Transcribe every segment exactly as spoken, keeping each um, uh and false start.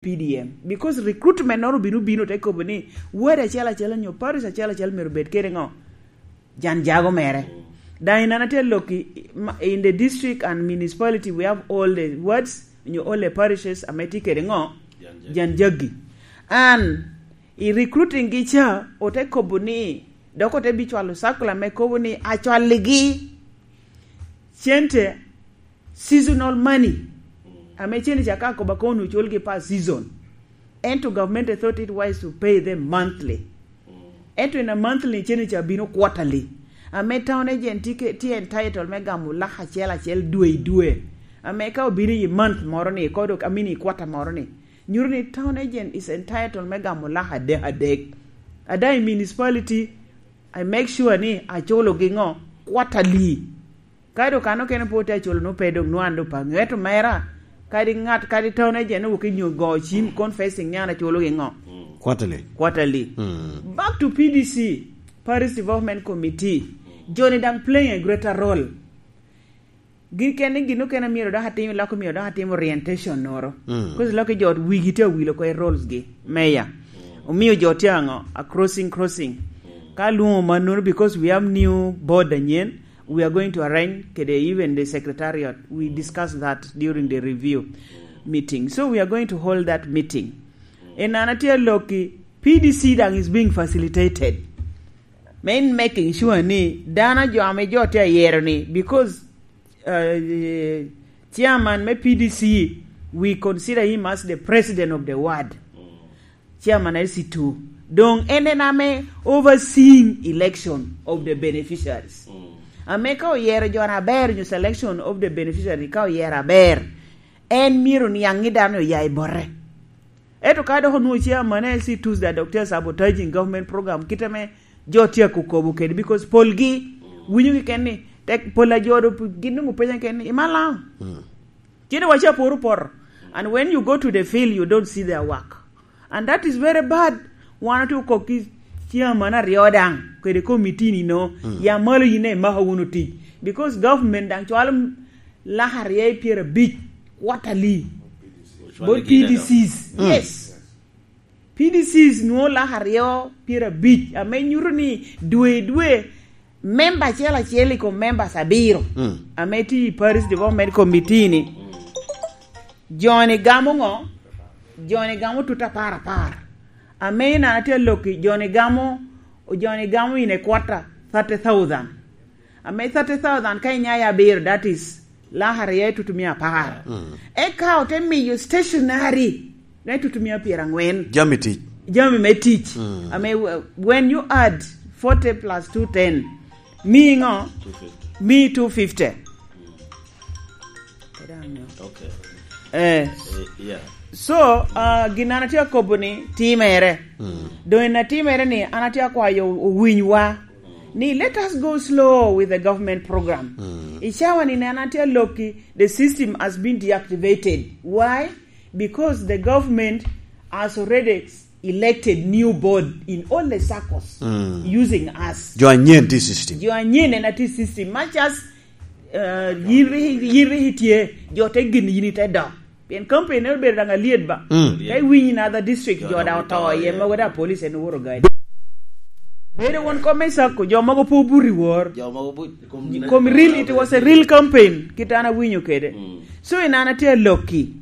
P D M, because recruitment noro bino bino te kobo ni ward acel acel nyo parish acel acel myero bed kede ngo, jan jago mere. Daŋ in an atye lokki, in the district and municipality, we have all the wards nyo all the parishes ame tye kede ngo, jan jaggi. An i recruiting gi ca ote kobo ni, dok ote bicwalo circular me kobo ni acwalligi cente, seasonal money, ame cene ca ka koba kono oculgi per season. Ento government thought it wise to pay them monthly. Ento in a monthly cene ca bino quarterly. Ame town agent tye ke, tye entitled me gamo lak acel acel dwe i dwe. Ame ka obino i month moro ni, kodo, I mean, i quarter moro ni, nyuto ni town agent is entitled me gamo lak adek adek. Ada i municipality, I make sure ni aculogi ngo, quarterly. Ka dok kan okene pwod tye aculo, nwoŋo pe dok nwoŋo an dok pe aŋeo. Ento mera, kadi ŋat, kadi town agent ni wok i nyo go cim confessing ni an aculogi ngo? Quarterly. Quarterly. Back to P D C, Parish Development Committee. Joni daŋ playing a greater role. Gin kene, gin okene myero dok atim, lok myero dok atim orientation noro. Because lok i jo wigi tye awilo ko i roles gi. Meya. Omio jo tye aŋo? A crossing, crossing. Ka lwoŋo mannono, because we have new board anyen, we are going to arrange kede even the secretariat. We discussed that during the review meeting. So we are going to hold that meeting. En an atye alokki, P D C daŋ is being facilitated. Me in making sure ni dano jo ame jo tye ayero ni, because, uh, chairman me P D C, we consider him as the president of the ward. Chairman L C two. Doŋ en en ame overseeing election of the beneficiaries. Ame ka oyero jo aber nyo selection of the beneficiary, ka oyero aber, en myero niaŋ ni dano oya i bote. Ento ka dok onwoŋo chairman L C twos, that dok tye sabotaging government program, kit ame jo tye akokobo kede, because polgi winyo keken ni, tek pol a jo do gin nwoŋo penya keken ni, "Imalaŋ?" Cine waca poro poto. And when you go to the field, you don't see their work. And that is very bad. Wan otye okok ki chairman aryo daŋ, kede committee ni no, ya malo yin imako wunu tic. Because government daŋ cwalo lak aryo i pyerabic quarterly. Bot P D Cs. Yes. P D Cs nwoŋo lak aryo pyerabic, ame nyuto ni dwe i dwe, member acel acel i kom members abiro, ame tye i Parish Development Committee ni, joni gamo ŋo? Joni gamo tut apar apar. Ame in an atye alokki, joni gamo, joni gamo in a quarter, thirty thousand. Ame thirty thousand ka inya i abiro, that is lak aryo i tutumia apar. Eka ote miyo stationery me tutumia pyeraŋwen. Jami tic. Jami me tic. Ame, uh, when you add forty plus two ten, mi ŋo? Mi two fifty. Okay. Eh. Eh, yeah. So, uh, gin an atye akobo ni timere. Doŋ en atimere ni an atye akwayo owinywa ni let us go slow with the government program. I cawa ni an atye alokki, the system has been deactivated. Why? Because the government has already elected new board in all the circles using us. Jo anyen tye system. Jo anyen en atye system. Much as, uh, yiri, yiri tye, jo te gin yini te dok. Pien campaign en obedo daŋ alyet ba. Ka iwinyo in other district, jo daŋ oto iye, mogo daŋ police en oworo gadi. Bedo won kom me sacco, jo mogo pe obuto i wor. Jo mogo bu-, kom real, it was a real campaign, kit an awinyo kede. So, in an atye alokki.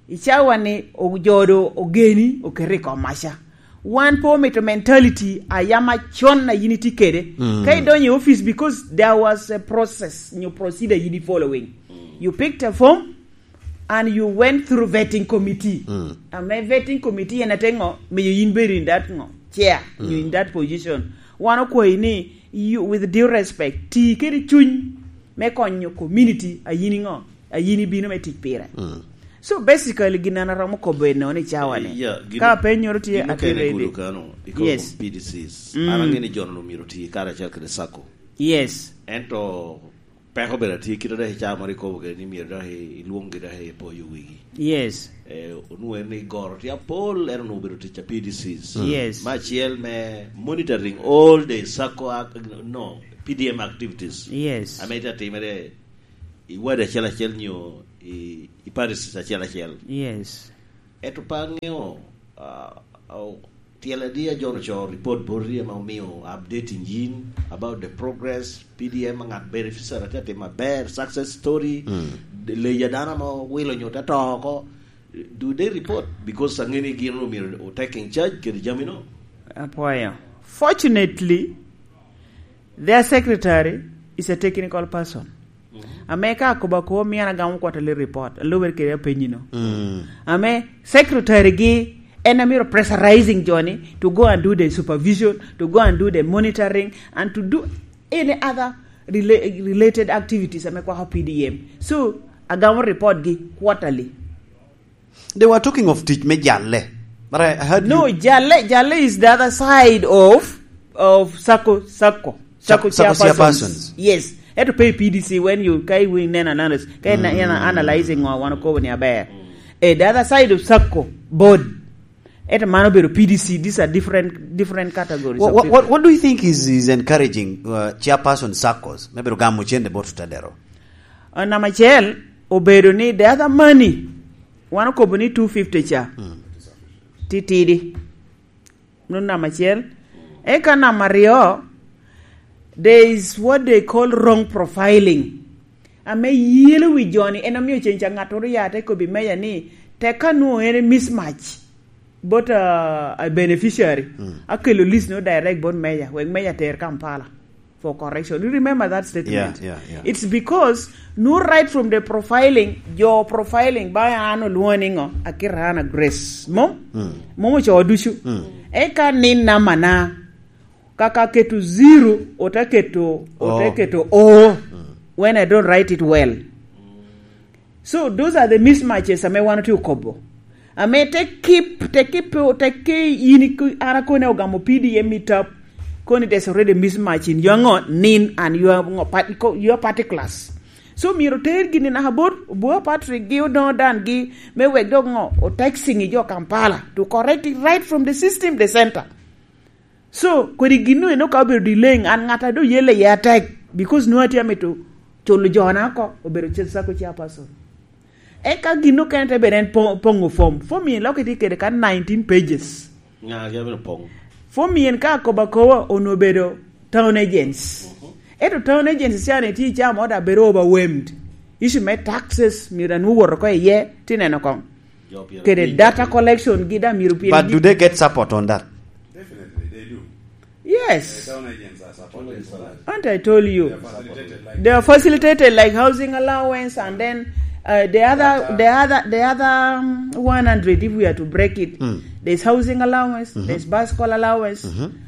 I cawa ni, o-, jo do ogeni, oketi i kom maca. Wan pe omito mentality a yam acon a yin itye kede. Ka idonyo i office, because there was a process, nyo procedure yin i following. You picked a form, and you went through vetting committee. Ame vetting committee en ate ŋo? Miyo yin bedo in that ŋo? Chair, you in that position. Wan okwayi ni, you, with due respect, ti kede cuny me konyo community a yin iŋo? A yin ibino me tic pire. So basically, gin an aromo kobo eno ni cawa ni. Eh, yeah, gin-, ka apenyoro tye, gin atye okene ready. Gulu kano, i kom P D Cs. An aŋeo ni jo-nu myero oti karacel kede sacco. Yes. Ento peko bene atye kite dok i caa moro ikobo kede ni myero dok i-, ilwonggi dok i poyo wigi. Yes. Eh, onwoŋo en ni goro tye apol, en onwoŋo obedo tic a P D Cs. Yes. Me acel me monitoring all the sacco ac-, no, P D M activities. Yes. Ame tye atimere i ward acel acel nyo i, i parishes acel acel. Yes. Eto pe aŋeo, ah, ah, tyel adi a John ocoo report boti ame omio updating yin about the progress, P D M, ŋat beneficiary atye atim maber, success story, leyi a dano ame owilo nyo te to oko. Do they report? Because aŋeni gin omyero o taking charge kede jami no. Apwoyo. Fortunately, their secretary is a technical person. Ame ka akobo akobo, mio an agamo quarterly report, alubere kede apenyi no. Ame secretary gi en amiro pressurizing joni to go and do the supervision, to go and do the monitoring, and to do any other rela-, related activities ame kwako P D M. So, agamo report gi quarterly. They were talking of tic me jalle. But I heard No, you jalle, jalle is the other side of, of sacco, sacco, sacco sacco chairpersons. Chairpersons. Yes. Eto pe P D C when you, ka iwinyo neno analysis, ka in, in analyzing ŋo wan okobo ni aber. Eh, the other side of sacco board. Eto mano obedo P D C. These are different, different categories What, of what, people. What, what do you think is, is encouraging, uh, chairperson saccos? Maybe gamo cente bot Otedero. Uh, namba acel, obedo ni the other money, wan okobo ni two fifty cha. Titidi. Mano namba acel. Eka namba aryo, there is what they call wrong profiling. Ame yelo wi joni, en omio cen ca ŋattoro ya te kobbi meja ni, tek ka nwoŋo en mismatch, bot, uh, a beneficiary, akelo list no direct bot meja, wek meja ter Kampala for correction. You remember that statement? Yeah, yeah, yeah. It's because no, right from the profiling, jo profiling ba an olwoŋo ni ŋo, akira an a Grace. Mom? Mom ocoo ducu. Eka ni namana, kaka keto zero, ote keto, ote keto O when I don't write it well. So those are the mismatches ame wan otye okobo. Ame te keep, te keep, te ke in iku-, an akone ogamo P D M i tap. Koni there's already mismatch in your ngo, nin and your ngo, part-, ko-, your particulars. So myero ter gini naka bot Obua Patrick gi Odongo Dan gi me wek dok ngo, o taxing i jo Kampala to correct it right from the system, the center. So, kodi gin no eno ka obedo delaying, an ŋat a doŋ yelle iye atek, because nwoŋo atye amito culo jona oko, obedo ce-, sacco chairperson. Eka gin okene te bedo en po-, poŋo form. Form en lok itye kede ka nineteen pages. Ŋa ake abino poŋo? Form en ka akobo akoba, onwoŋo obedo town agents. Ento town agents ca ni tye i caa mo da bedo overwhelmed. Issue me taxes, myero anwoŋo woto oko iye, ti neno koŋ. Kede data collection gi da myero pien But gi- do they get support on that? Definitely, they do. Yes. The town agents are supported for that. And I told you. They are facilitated like They are facilitated like housing allowance and then, uh, the other, Data. the other, the other, um, one hundred, if we are to break it, there's housing allowance, there's bus call allowance,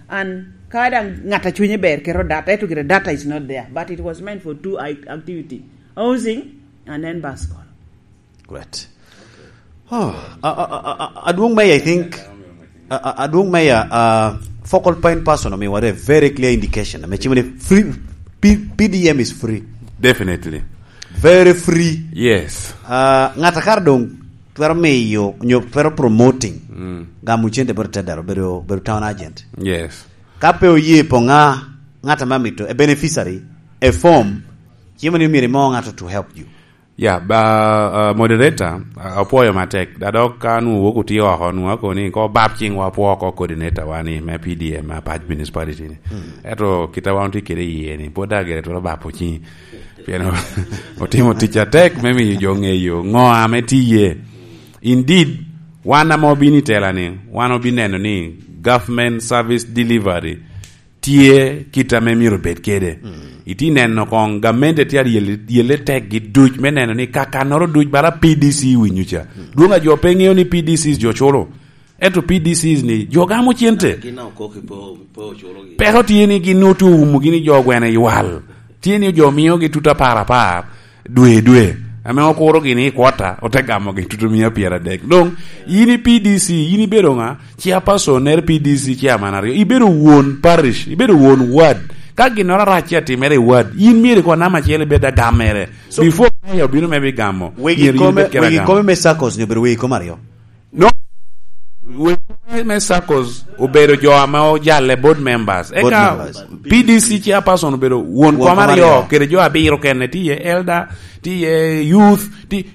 and kada ŋat a cwinye ber kero data, eto kere data is not there, but it was meant for two i-, activity, housing and then bus call. Great. Oh, a, a, a, a, Adwong Meya, I think, a, a, Adwong Meya, uh, focal point person omiwa a very clear indication. Ame cimo ni free, P-, P D M is free. Definitely. Very free. Yes. Uh, ŋat a kara doŋ twero miyo, nyo twero promoting, gamo cente bot Otedero, bedo, bedo town agent. Yes. Ka pe oye po ŋa, ŋat ame amito, a beneficiary, a form, cimo ni myero imo ŋato to help you. Ya, ba, uh, moderator, uh, apwoyo matek. Da dok ka nwoŋo wok otye oko, nwoŋo akobo ni ko bab ciŋwa apwo oko coordinator wa ni me P D M me Apac Municipality ni. Ento kit a wan otye kede iye ni, pwod dok gire twero babo ciŋ. Pien otimo tic atek me miyo jo ŋeyo ŋo ame tye iye. Indeed, wan ame obino i tela ni, wan obineno ni government service delivery tye kit ame myero obed kede. Itye neno koŋ gamente tye aryel-, ryelle tekgi duc me neno ni kakannoro duc bala P D C winyo ca. Dwong a jo pe ŋeo ni P D Cs jo culo. Ento P D Cs ni jo gamo cente. Gin a okok i po, po oculogi. Peko tye ni gin otye oumogi ni jo gwene ywal. Tye ni jo miogi tut apar apar. Dwe, dwe, ame okurogi ni i kwota, ote gamogi tutumia pyeradek. Doŋ, yin i P D C, yin ibedo ŋa? Chairperson nere P D C chairman aryo. Ibedo won parish, ibedo won ward. Ka ginnoro arac tye atimere i ward, yin myero ikoŋ namba acel ibed agammere. So, before mayor obino me bigamo, wegi myero yin kome, ibed kede wegi agamo. Kome me saccos nyo obedo wegi kome aryo? No. Wegi me saccos obedo jo ame ojalle board members. Board Eka members. P D C chairperson obedo won Won kom kom aryo, aryo. Kede jo abiro kene, tye iye elder, tye iye youth, tye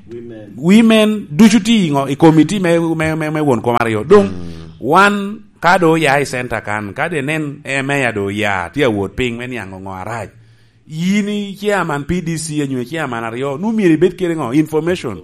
women, ducu tye i ngo-, i committee me, me, me, me won kom aryo. Dong, wan ka do oya i center kan, ka de nen e meya do oya, tye awot piny me niaŋ ngo arac. Yin i chairman P D C anyo i chairman aryo, nu myero ibed kede ngo? Information.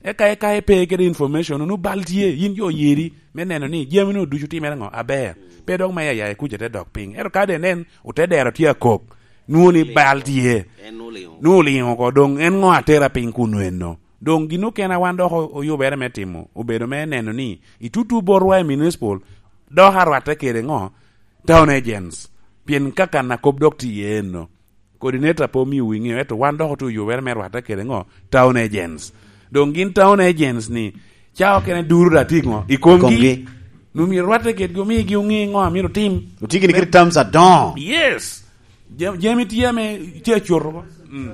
Eka, eka ipe kede information, nu bal tye, yin jo oyeri, me neno ni jami nu ducu timere ngo? Aber. Pe dok meya ya i kuca te dok piny. Ento ka de nen, ote dero tye akok, nu ni bal tye. En oliŋo. Nu oliŋo oko, dong en ngo atera piny kun eno? Dong gin okene a wan dok o-, oyubere me timo, obedo me neno ni i tutu botwa i municipal, dok arwatte kede ngo? Town agents. Pien kakan a kop dok tye iye eno. Coordinator pe omio wi ŋeo, ento wan dok otye oyubere me rwatte kede ngo? Town agents. Dong gin town agents ni, ca okene duro da tye ngo? I komgi. Komgi. Nu myero rwatte kedgi, omigi oŋe ngo a myero otim. Otye gini kede terms adoŋo. Yes. Jam-, jami tye ame tye acoto bo. Mm.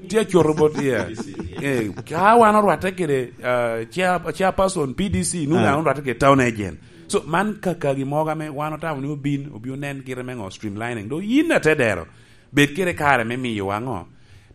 Tye acoto bot, yeah. Eh, ka wan orwatte kede, uh, chair-, chairperson P D C, nu Ah. wan orwatte kede town agent. So, man kakagi mogo ame wan otamo ni obin, obi onen kite me ngo streamlining. Do yin atedero, bed kede kare me miyo wa ngo?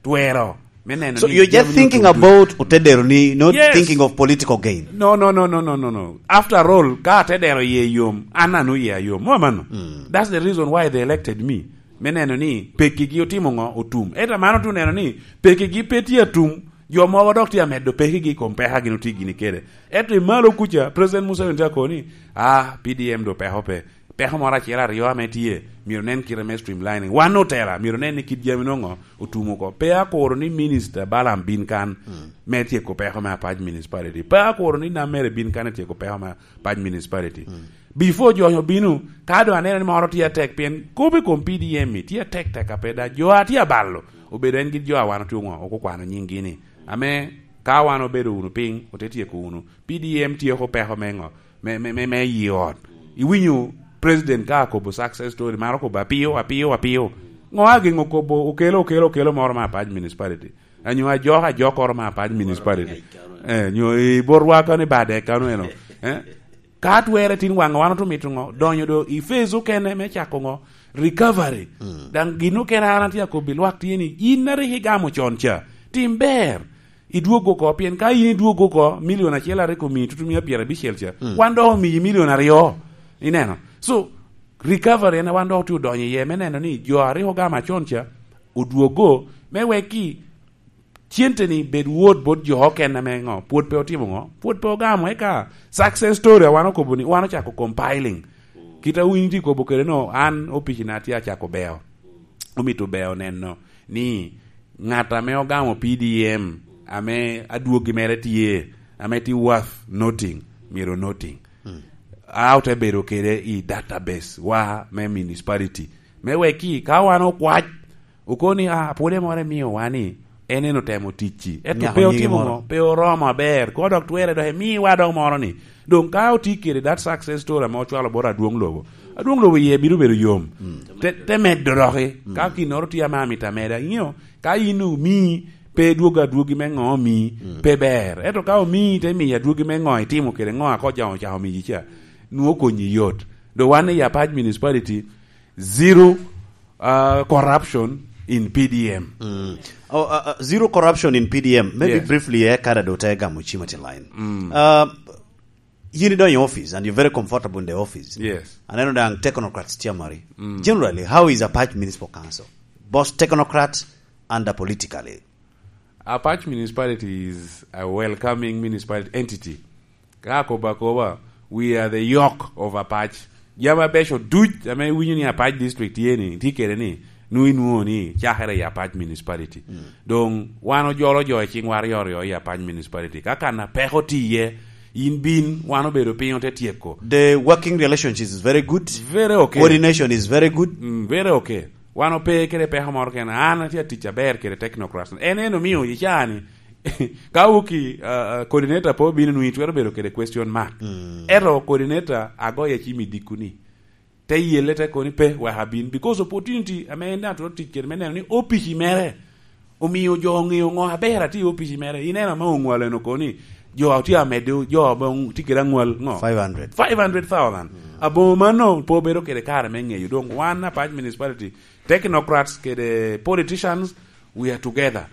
Twero, me neno So ni you're just jami thinking otutu. About Otedero ni, not Yes. thinking of political gain. No, no, no, no, no, no, no. After all, ka atedero ye yom, an anu ye ayom. Mo amano? Mm. That's the reason why they elected me. Me neno ni pekigi otimo ngo? Otum. Ento mano tu neno ni pekigi pe tye atum. Jo mogo dok tye amedo pekigi i kom peka gin otye gini kede. Ento i malo kuca, President Museveni tye akobo ni, "Ah, P D M do peko pe." Peko moro acel aryo ame tye, myero nen kite me streamlining. Wan otela, myero nen ni kit jami nongo otum oko. Pe akuro ni Minister Balaam bin kan Mm. me tyeko peko me Apac Municipality. Pe akuro ni Namere bin kan etyeko peko me Apac Municipality. Mm. Before jo onyo bino, ka doŋ aneno ni moro tye atek, pien kop i kom P D M-mi tye atek tek ape da. Jo a tye abalo, obedo en gin jo a wan otye oŋo, okukwano nyinggi ni. Ame ka wan obedo wunu piny, ote tyeko wunu. P D M tyeko peko me ŋo? Me, me, me, me yi ot. Iwinyo president ka akobo success story, maro kobo apio, apio, apio. Ŋo ageŋo kobo, okelo, okelo, okelo moro me Apac Municipality? Anyo ajok, ajokoro me Apac Municipality? Eh, nyo i botwa kano i Badek kano eno. Eh? Ka twerre tin waŋ wan otumito ŋo? Donyo do i phase okene me cako ŋo? Recovery. Mm. Daŋ gin okene an atye akobbi lwak tye ni, in a rik igamo con ca, tim ber. Idwog oko, pien ka in idwog oko, milion acel a rik omiyi tutu mia pyerabicel ca, Mm. wan dok omiyi milion aryo. Ineno? So, recovery en a wan dok otye odonyo iye, me neno ni jo a rik ogamo acon ca, odwogo, me wek ki cente ni bed wot bot jo okene ame ŋo, pwod pe otimo ŋo, pwod pe ogamo, eka success story a wan okobo ni, wan ocako compiling. Kit a wun itye kobo kede no, an opici na tye acako beo. Omito beo neno ni ŋat ame ogamo P D M, ame adwogi mere tye, ame tye worth noting, myero noting. Mm. A ote bedo kede i database wa me municipality. Me wek ki, ka wan okwac, okoni, "Ah, pwode moro emio wa ni, en en otemo ticci." Ento Nyako pe nyingi otimo moro. Ŋo? Pe oromo aber. Ko dok twere dok emiwa dok moro ni. Dong ka oti kede that success story ame ocwalo bot adwong lobo, adwong lobo iye bino bedo yom. Mm. Te, te meddo doki. Mm. Ka ginnoro tye ame amito ameda, ingeyo, ka in omii, pe dwogo adwogi me ŋo omii, Mm. pe ber. Ento ka omii, te miyo adwogi me ŋo itimo kede ŋo a ko jaŋo ocako miyi ca, nwoŋo konyi yot. Do wan i Apac Municipality, zero, uh, corruption in P D M. Mm. Oh, uh, uh, zero corruption in P D M. Maybe Yes. briefly, eh, kada do te gamo chima ti line. Mm. Uh, yin idonyo i office and you're very comfortable in the office. Yes. Aneno daŋ technocrats tye amari. Mm. Generally, how is Apac Municipal Council? Both technocrat and politically? Apac Municipality is a welcoming municipal entity. Ka akobo akoba, we are the yoke of Apac. Jami abeco duc ame iwinyo ni Apac District tye ni, tye kede ni, nwoŋo inwoŋo ni cakere i Apac Municipality. Mm. Dong wan ojolo jo i ciŋwa aryo aryo i Apac Municipality. Ka kan a peko tye iye, in bin, wan obedo piny ote tyeko. The working relationship is very good. Very okay. Coordination is very good. Mm, very okay. Wan ope kede peko moro kene. An atye atic aber kede technocrats. En en omio i caa ni, ka wuki, uh, uh, coordinator pe obino nwoŋo itwero bedo kede question mark. Mm. Ento coordinator agoye cim i dikku ni, te yelle te koni pe, wek abin. Because opportunity ame en daŋ twero tic kede me neno ni opici mere omio jo oŋeo ŋo aber atye i opici mere. Ineno ame oŋwalo en okoni, Jo a tye amedo, jo a bong-, tye kede aŋwal, ŋo? Five hundred. Five hundred thousand. Mm. Aboŋo mano pe obedo kede kare me ŋeyo. Doŋ wan Apac Municipality, technocrats kede politicians, we are together.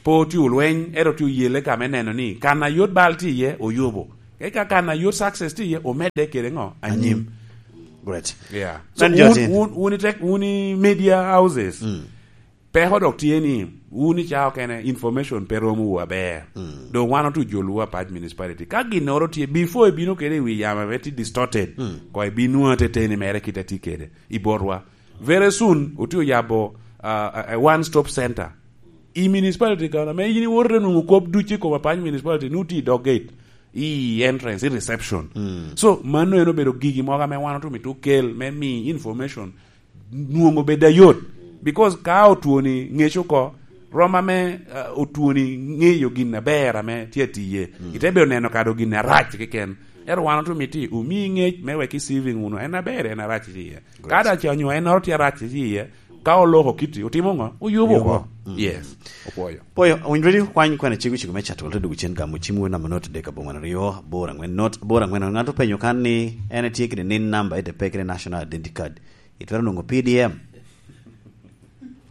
Pe otye olweny, ento tye oyelle ka me neno ni kan a yot bal tye iye, oyubo. Eka kan a yot success tye iye, omedde kede ŋo? Anyim. Anyim. Great. Yeah. So, Nen jo wun, tin. Wun, wun i tek-, wun i media houses. Mm. Peko dok tye ni, wun i cawa okene, information pe romo wu aber. Mm. Doŋ wan otu jolo wu Apac Municipality. Ka ginnoro tye, before ibino kede i wi yamo ame tye distorted, mm, ko ibin nwoŋo ateteni mere kit a tye kede i botwa. Very soon, otye oyabo, uh, a, a one-stop center. I municipality kono, ame yin iwoto te nwoŋo kop ducu i kom Apac Municipality, nu tye i dog gate, i entrance, i reception. Mm. So, mano en obedo gigi mogo ame wan otu mito kel me mi information nwoŋo bed ayot. Because ka otwoni ŋec oko, rom ame, uh, otwoni ŋeyo gin aber ame tye atiye. Mm. Ite bedo neno kado gin arac keken. Ento wan otu miti omi ŋec me wek i saving wunu. En aber, en arac tye iye. Great. Ka da ce onyo ennoro tye arac tye iye, ka oloko kiti, otimo ŋo? Oyubo oko. Oyubo. Mm. Yes. Opwoyo. Pwoyo, owinjo ready kwany kwena cego cego me cato wala te dugu cen gamo cim wen namba not dek aboŋwen aryo, aboro angwen not, aboro angwen. Ŋat openyo kan ni en etye kede nin namba, ete pe kede national identity card. Itwero nwoŋo P D M.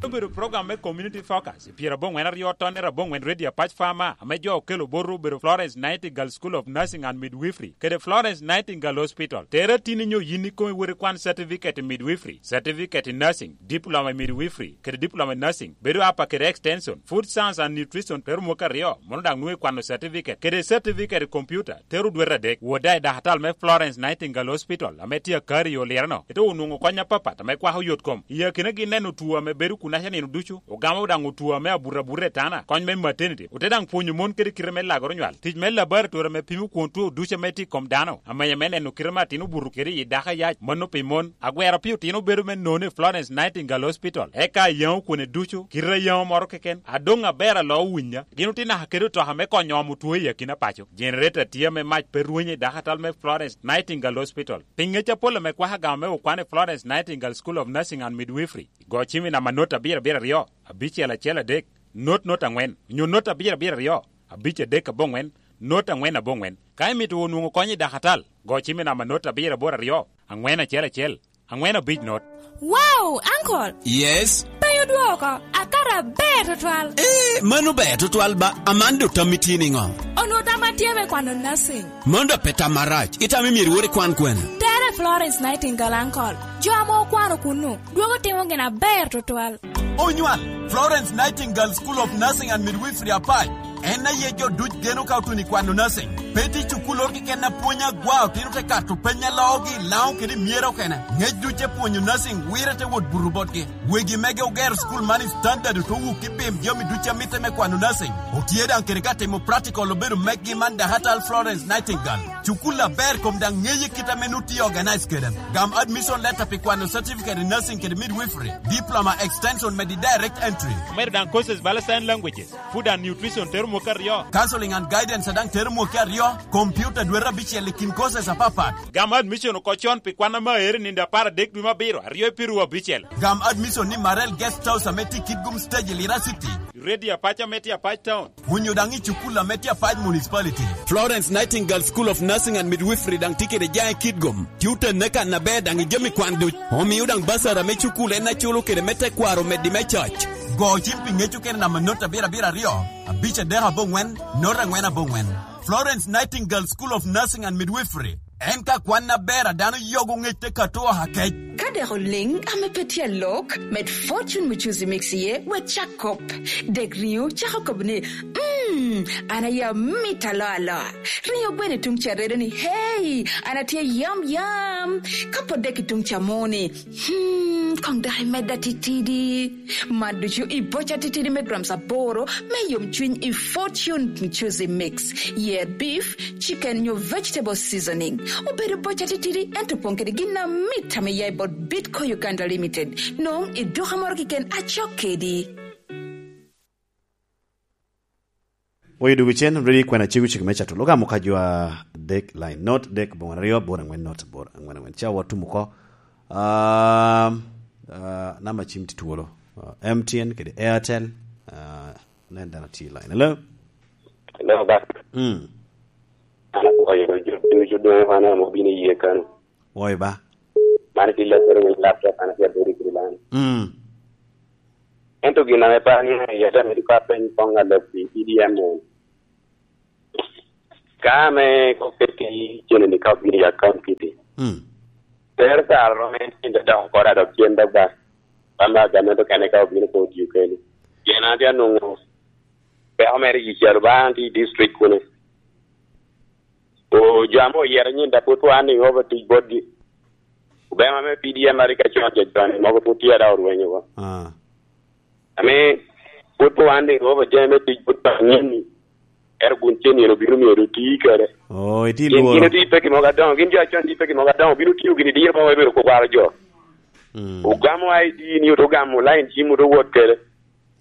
Obedo program me community focus, i pyera aboŋwen aryo ton, era aboŋwen Radio Apac Farmer, ame jo okelo boto obedo Florence Nightingale School of Nursing and Midwifery, kede Florence Nightingale Hospital. Tere tin inyo yin ikomi wot ikwan certificate in midwifery, certificate in nursing, diploma in midwifery, kede diploma in nursing, bedo apa kede extension, food science and nutrition, tero mwaka aryo, mono daŋ nwoŋo ikwano certificate, kede certificate in computer, tero dwete adek. Wot daŋ i dakatal me Florence Nightingale Hospital, ame tye akari i Olireno, ite onwoŋo kony apapat ame kwako yot kom. I akinagi neno two ame bedo kunaca nino ducu, ogamo daŋ two ame abuto abuta i tana, kony me maternity, ote daŋ pwonyo mon kede kite me lagoro nywal, tic me laboratory ame pimo kwon two ducu ame tye i kom dano, amenya me neno kite ame atin obuto kede i dako ayac, mano pi mon. Agwero pi otino bedo me none i Florence Nightingale Hospital, eka ayaŋo kwone ducu, kite ayaŋo moro keken, adoŋ aber alo owinya. Gin otye naka kede otoka me konyo omo two i akina paco. Generator tye ame mac pe rwenyo i dakatal me Florence Nightingale Hospital. Pi ŋec apol ame kwako agamo me okwan i Florence Nightingale School of Nursing and Midwifery, go cim i namba not abiro abiro aryo, abicel acel adek, not not angwen, onyo not abiro abiro aryo, abic adek aboŋwen, not angwen aboŋwen. Ka imito wunu nwoŋo kony i dakatal, go cim i namba not abiro aboro aryo, angwen acel acel, angwen abic not. Wow, Uncle! Yes? Pe odwoko, akato aber tutwal. Eh, mano ber tutwal ba, aman do tammi tye niŋo? Onwoŋo tam atye me kwano nursing. Mano da pe tam arac, itamo myero iwor ikwan kwene? Tere Florence Nightingale, Uncle. Jo ame okwano kunnu, dwogo timo gin aber tutwal. Onywal, Florence Nightingale School of Nursing and Midwifery Apac. En aye jo duc geno ka otuno i kwano nursing. Pe tye cukul oro keken apwony agwa, otino te kato peny a loogi i Laŋo kede i Myera okene. Ŋec duc te pwonyo nursing, wire te wot buto botgi. Wegi mege ogero cukul man i standard, ote wuki pim jami duc a mitte me kwano nursing. Otye daŋ kede ka timo practical obedo meggi man dakatal Florence Nightingale. Cukul aber kom daŋ ŋeye kit ame nu tye organize kede. Gam admission letter pi kwano certificate in nursing kede midwifery, diploma extension me di direct entry. Omedo daŋ courses bala sign languages, food and nutrition tero mwaka aryo. Counseling and guidance a daŋ tero mwaka aryo, computer dwete abicel i kin courses apapat. Gam admission oko con pi kwan ame aero i nino apar adek dwe me abiro, aryo i piru abicel. Gam admission ni Marel Guest House ame tye i Kitgum Stage i Lira City. Radio Apac ame tye Apac Town. Onyo daŋ i cukul ame tye Apac Municipality. Florence Nightingale School of Nursing and Midwifery daŋ tye kede jaŋ i Kitgum. Tye otenne kan aber daŋ i jami kwan duc. Omio daŋ basar ame cukul en aculo kede me tekwaro meddi me cac. Go cim pi ŋec okene namba not abiro abiro aryo, abic adek aboŋwen, not angwen aboŋwen. Florence Nightingale School of Nursing and Midwifery. En ka kwan aber a dano yogo ŋec te kato oha kec. Ka dek oliŋ ame pe tye alok, med Fortune Muchuzi Mix iye, wek cak kop. Dek riŋo cako kobo ni, "Mm, an aye amit aloa aloa." Riŋo gweno i tuŋ ca redo ni, "Hey, an atye yam yam." Ka po dek i tuŋ ca mo ni, "Hmm, koŋ dok imedda titidi." Man ducu i boca titidi me grams aboro me yomcwiny i Fortune Muchuzi Mix. Yer beef, chicken nyo vegetable seasoning. Obedo boca titidi, ento opoŋ kede gin amit ame ya i bot Bitco Uganda Limited. Nwoŋo i duka moro keken acok kedi. Oyo dugu cen, ready kwena cego cego me cato. Loga muka jwa dek line not dek bongwen aryo bor angwen not bor angwen angwen. Ca watumu ko. Um, uh, namba cim ti twolo. Uh, M T N kede Airtel. Uh, nen dano ti line. Hello? Hello, Bak. Mm. An apwoyo jo ducu doŋ wan ame obino i yie kano. Woi ba. Man tye laptop, winy laptop, an atye abedo i Girilan. Mm. Ento gin ame par ni, yata me diko apeny koŋ alok pi P D M en. Ka ame oket i cene ni ka obino i account kiti. Mm. Tero kare rom en cen te dok oko dok cen dok ba. Ba me agamente okene ka obino pe otiyo keni. Pien an tye anwoŋo peko mere i calo ba an tye i district kune. O, jo ame oyero nyin da pwod po an i over tic botgi. Obema me P D M a rik acon, jo con mogo pwod tye ada orwenyo wa. Ah. Ame pwod po an i over jami me tic bot pa nyin ni. Ero kun cen nino bino myero oti kede. Oh, iti Gin, gin lworo. Oti peki mogo adoŋo, gin jo acon oti peki mogo adoŋo, bino tiyo gini diro mogo ebiro kwaro jo. Mm. Ogamo I D ni, oto gamo line cim, oto wot kede.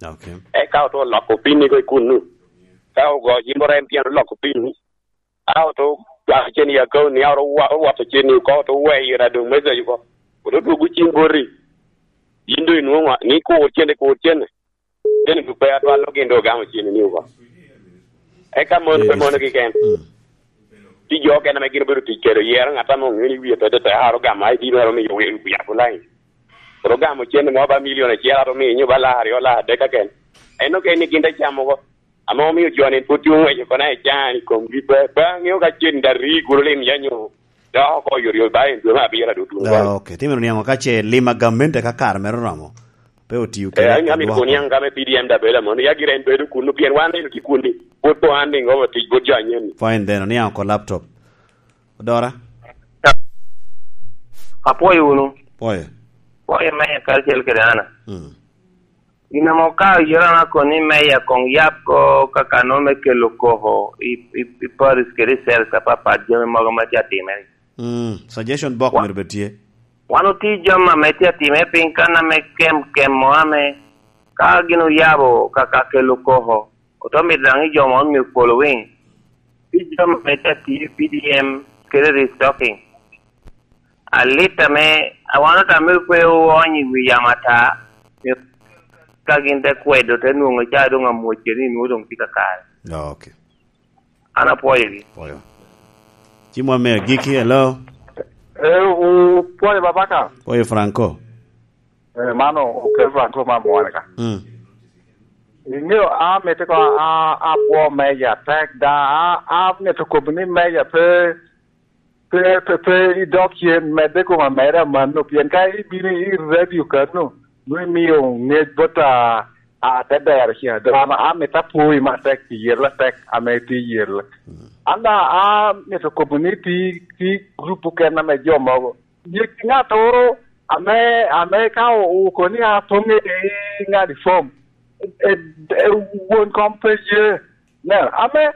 Okay. Eka oto loko pin ni ko i kunnu. Ka ogo jimbo rem tyen oloko pin ni. A oto dwaro cen i account ni, a oto wa-, owato cen ni oko, oto weyo ira doŋ message oko. Oto dwogo cim boti. Yin doŋ inwoŋo ni kur cene, kur cene. Cen ni pe atwal gin doŋ ogamo cen ni oko. Eka mon pe mono kiken. Mm. Ti jo okene ame gin obedo tic kede, oyero ŋat ame oŋeo ni wie pe tete, a oto gamo I D mere omiyo wi-, wi-, yabo line. Oto gamo cen mo ba milion acel, ato miyo nyo ba lak aryo, lak adek kaken. En okene ni gin te camo oko. Ame omio jo-ni pwod tye oŋweco kono i can i komgi pe, pe aŋeo ka cen da ri guro lim ya nyo dok oko oyotoyot ba en dwe me abiro a dwe tuŋ Ah, bal. Okay. Timino niaŋ ka ce lim a gamente ka kare mere oromo. Pe otiyo Eh, kede an amito adwoko. Kono niaŋ ka me P D M da bela mono, ya gira en bedo kunnu, pien wan eno tye kunni. Pwod po an niŋ owo tic bot jo anyen-ni. Fine then, oniaŋ oko laptop. Odora? Apwoyo wunu. Pwoyo. Pwoyo me karacel kede Ana. Mm. Gin ame okato yera na kono ni meya koŋ yab ko kakano me kelo koko i, i, i parish kede i cells apapat, jami mogo ma tye atimere. Mm, suggestion box Wa-, myero bed tye. Wan otye jami ame tye atimere piny kan ame kem, kemo ame ka gin oyabo ka, ka kelo koko, oto mito daŋ i jo mo myero following. Tye jami ame tye atiyo i P D M kede restocking. Alit ame awano tame pe oony i wi yam ata, ka gin te kwedo, te nwoŋo ca doŋ amwocce ni nwoŋo doŋ tye kakare. Ah, okay. An apwoyogi. Pwoyo. Ci mwa me agikki, hello? Eh, o, pwoyo Babaka. Pwoyo Franco. Eh, mano, okel Franco ma mwane ka. Mm. Iŋeo, a, mete ko, a, a, apwo meja tek da, a, a, mete kobo ni meja pe, pe, pe, pe idok cen, medde koma medde amanno, pien ka ibino i radio kanno, nwoŋo imio ŋec bot a, a, te dero ca. Dano, a, mete apwoi matek pi yel atek ame tye yel. Mm. An da, a, mete kobo ni ti, ti grup okene ame jo mogo. Nyig ŋattoro ame, ame ka o-, okobo ni a poŋ i ŋadi fom, e, e, e, won kom pe ye. Nen, ame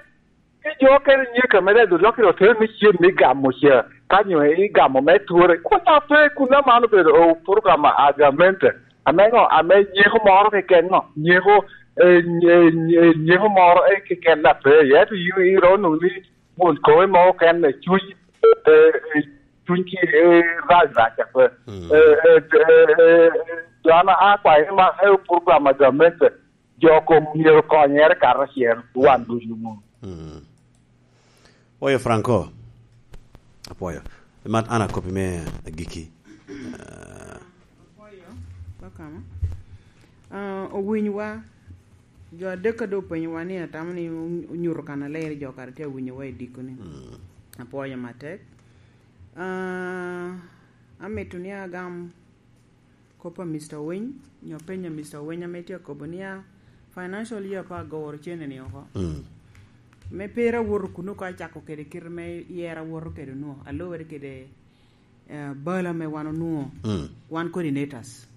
ki jo okene nyeko ame ledde olokki otero ni cen me gamo ca, ka nyo igamo me twore. Kun ape, kun aman obedo, o, program a gamente. Ame ŋo? Ame nyeko moro keken ŋo? Nyeko, e, nye-, nye-, nyeko moro, e, keken ape. Ento yin iromo nwoŋo ni won kowe mogo kene cuny, e, e, cuny ki, e, rac rac ape. Mm. E, e, e, e, jo an akwayo ni man, e, program a gamente, jo kom myero konyere karacel, wan ducu. Mm. Oyo Franco. Apwoyo. Mat an akoppi me agikki. Ah. Apwoyo, Bakama. Ah, owinywa. Jo adek ka doŋ openyowa ni atamo ni onyuto kan aler jo kara tye awinyowa i dikoni. Mm. Apwoyo matek. Ah, amito ni agam kop a Mister Winy, nyo peny a Mister Winy ame tye akobo niya, financial year pe agoro cene ni oko. Mm. Me pera awoto kuno ka acako kede kite me yera awoto kede onwo, alubere kede, eh, bal ame wan onwo, mm, wan coordinators.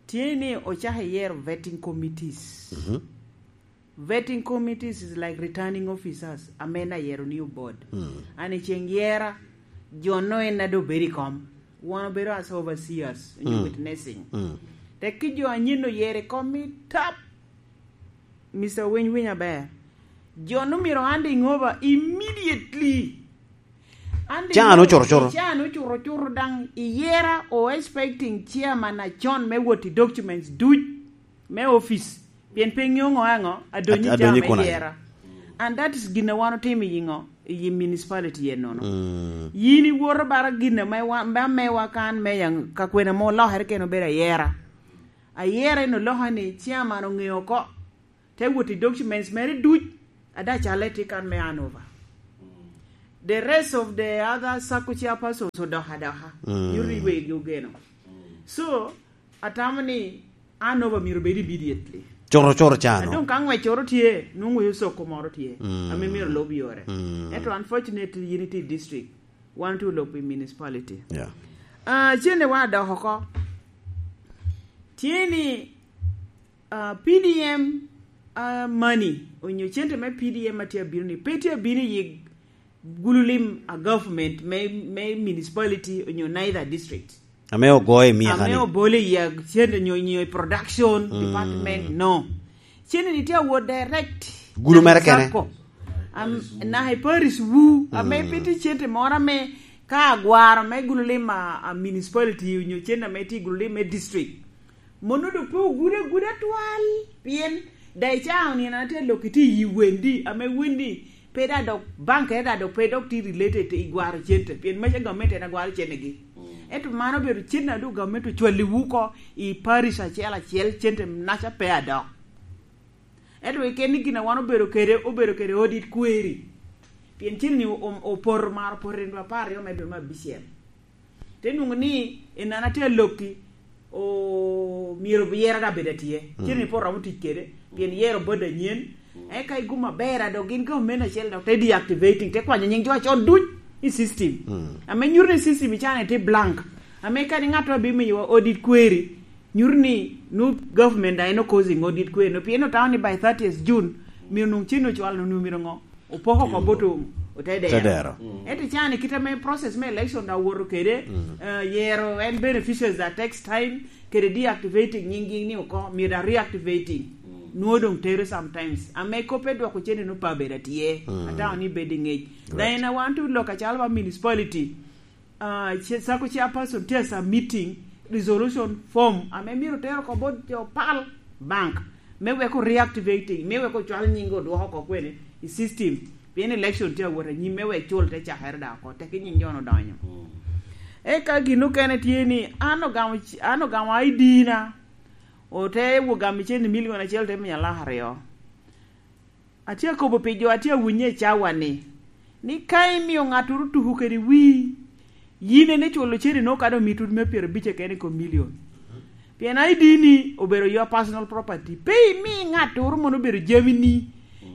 Tye ni ocako iyero vetting committees. Mhm. Vetting committees is like returning officers, ame na yero ni obod. Mm. An i ceng yera, jo no en ado bedo i kom. Wan obedo as overseers, onyo, mm, witnessing. Mm. Tek ki jo anyen oyero i kom i tap, Mister Winy, winy aber. Jo no myero handing over immediately. Handing over. Can ocuto cuto. Can ocuto cuto daŋ iyera o expecting chairman acon me wot i documents duc me office. Pien pe ŋeo ŋo aŋo, adonyo. Ad-, adonyo i caa me yera. And that is gin a wan otimo i ŋo? i municipality enono. Mm. Yin iwoto bara gin ame wa-, ame amewa kan me yaŋ ka kwena mo olokere kene obedo ayera. Ayera en oloko ni chairman oŋeo oko. Te wot i documents mere duc, ada cale tye kan me handover. The rest of the other sacco chairpersons odoko adoka. Mm. Nyuto ni wegi ogeno. So, atamo ni handover myero obed immediately. Coro, coro cano. Adong ka ngwec coro tye, nwoŋo yo soko moro tye. Mm. Ame myero lub yore. Mm. Ento unfortunately, yin itye i district. Wan tye olok pi municipality. Yeah. Ah, cene wa dok oko. Tye ni, ah, P D M, ah, money, onyo cente me P D M a tye abino ni, pe tye abino i gulu lim a government me, me municipality onyo neither district. Ame ogoyo i miya kani. Ame obolo i ya cente nyo, nyo i production, mm, department, no. Cente ni tye awot direct. Gulu mere kene. Sacco. Am, na i parish wu, ame, mm, pe tye cente moro ame ka agwaro me gulu lim a, a municipality onyo cente ame tye gulu lim me district. Mono do pe ogudo aguda twal, pien da icaa onino na tye lok iti yi wendi, ame wendi pe da dok, bank eda dok pe dok ti related i gwaro cente, pien maca gamente en agwaro cente gi. Mm. Ento mano obedo cente a do gamente ocwali wu ko i parish acel acel, cente naca pe adok. Ento keken ni gin a wan obedo kede, obedo kede audit query. Pien cente ni o-, o-, opoto maro opoto i dwe apar aryo me dwe me abicel. Te nwoŋo ni, i nana tye alokki, o, myero yero da bed atye. Mm. Cente ni pe oromo tic kede, pien yero board anyen. Mm. Eka igumo aber, a dok gin government acel dok te deactivating, te kwanyo nying jo acon duc i system. Mm. Ame nyuto ni system i cana tye blank. Ame kadi ŋat a bimiyowa audit query, nyuto ni nu government da en o causing audit query no, pien otamo ni by thirtieth June, myero nwoŋo cen ocwalo no, myero ŋo? Opoko oko bot otedero. Tedero. Mm. Ento cani kite me process me election da owoto kede, mm, eh, yero en beneficiaries that takes time, kede deactivating nying gi ni oko, myero da reactivating. Mm. Nwoŋo doŋ tere sometimes. Ame kop pe dwoko cene no pa bedo atye. Mm. Atamo ni bedo i ŋec. Right. Na en awan tu lok acalo ba municipality, ah, ce-, sacco chairperson tye a submitting resolution form ame myero tero oko bot jo pal bank me wek o reactivating, me wek ocwal nying odwoko oko kwene i system, pien election tye awot anyim, me wek cul te cakere da oko, teki nying jo odonyo. Mm. Eka gin okene tye ni an ogamo c-, an ogamo I D na, ote wo gamo cen i milion acel te miya lak aryo. Atye akobo pi jo atye awinye i cawa ni, ni ka imio ŋattoro tuko kede wii, yin en iculo cene no kadi omito me pyerabic keken i kom milion. Pien I D ni obedo your personal property. Pe imi ŋattoro mono obedo jami ni.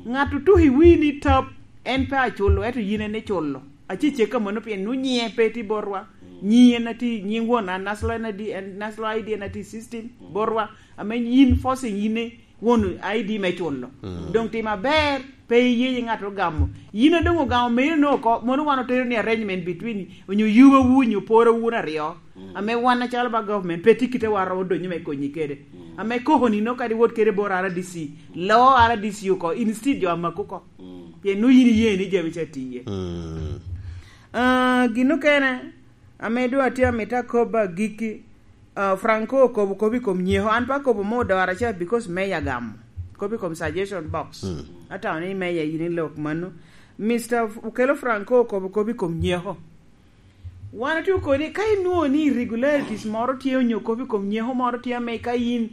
Ŋat otuko i wii ni tap, en pe aculo, ento yin en iculo. Acecek ka mono pien nu nyiŋe pe tye botwa. Nyiŋ en atye, nyiŋ won a Naslo en adi, en Naslo I D en atye system botwa. Ame yin forcing yin ni won I D me culo. Mm. Doŋ tim aber, pe iye yi ŋat ogamo. Yin a doŋ ogamo meri no oko, mono wan otero ni arrangement between onyo yuba wu, onyo pora wun aryo. Mm. Ame wan acalo ba government, pe tye kite wa romo donyo me konyi kede. Mm. Ame koko ni no kadi wot kede bor R D C, lo R D C oko, instead jo amako oko. Mm. Pien nu yin iye ni jami ca tiye. Mm. Ah, gin okene, ame doŋ atye amito akobo agikki, ah, Franco okobo kop i kom nyeko. An pe akobo mo odoro acel because me yagamo. Kop i kom suggestion box. Mm. Atamo ni meya yin i lok mano. Mister F-, Okello Franco okobo kop i kom nyeko. Wan otye okoni ka inwoŋo ni irregularities moro tye onyo kop i kom nyeko moro tye ame ka yin,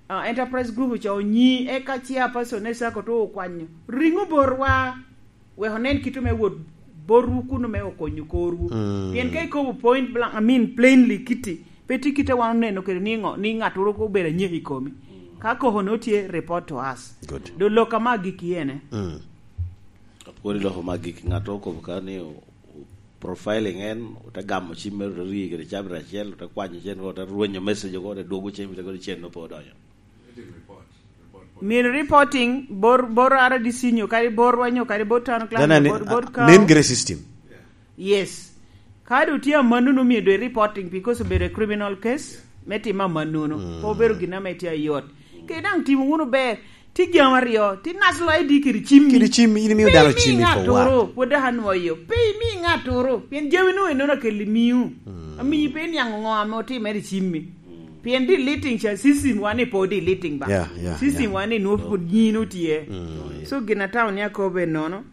ah, enterprise group oco onyi, eka chairperson e sacco to okwanyo. Ringo botwa. Wek onen kit me wot botwu kuno me okonyo korwu. Mm. Pien ka ikobo point blank, I mean plainly kiti, pe tye kite wan oneno kede ni ŋo, ni ŋattoro obedo anyeko i komi. Ka koko no tye, report to us. Good. Do lok ama gik ene. Mm. Apwod i lok ama gik, ŋattoro okobo ka ni o-, o-, profiling en, ote gamo cim mere, ote rii kede cabinet acel, ote kwanyo cen, ote rwenyo message oko, ote dwogo cen, ote kodi cen no pe odonyo. Myero reporting bor, bor R D C nyo kadi borwa nyo kadi bor town clerk, bor, bor county. Nen gire system. Yes. Kadi otye amannono myero doŋ reporting because obedo a criminal case, me timo amannono. Mm. Pe obedo gin ame tye ayot. Kede daŋ timo wunu ber, ti jami aryo, ti Naslo I D kede cimmi. Kede cimmi, in imiyo dano cimmi for what? Pe imi ŋattoro, pwod dok anwoyo. Pe imi ŋattoro, pien jami nu enono akeli miu. Mm. Amiyi pe iniaŋ ŋo ame otimere i cimmi. Pien deleting ca system wa ni pe deleting ba. Yeah, yeah, system wa ni nwoŋo pwod nyino tye. Mm. So gin atamo ni akobo enono.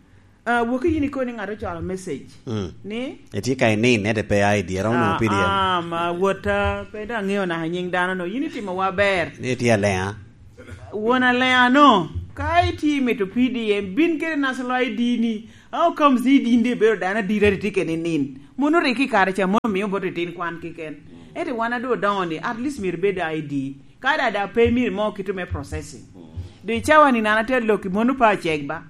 Ah, woki yin ikono ni ng'ato ocwalo message. Mm. Ni? Etye ka inin, ete pe I D, eromo nwoŋo P D M. Ah, ah, ma wota, pe dong aŋeo naka nyiŋ dano no. Yin itimo wa ber. Ni etye aleŋa? Won aleŋa no. Ka itye mito P D M, bin kede national I D ni. How comes ni din de ibedo dano adira, itye kede inin? Mono rik i kare ca, mono mio boto itin kwan keken. Ete wan adu odoŋo ni, at least myero ibed I D. Ka da, da pe myero mo kito me processing. Do i cawa ni nana te loki mono pa cek ba.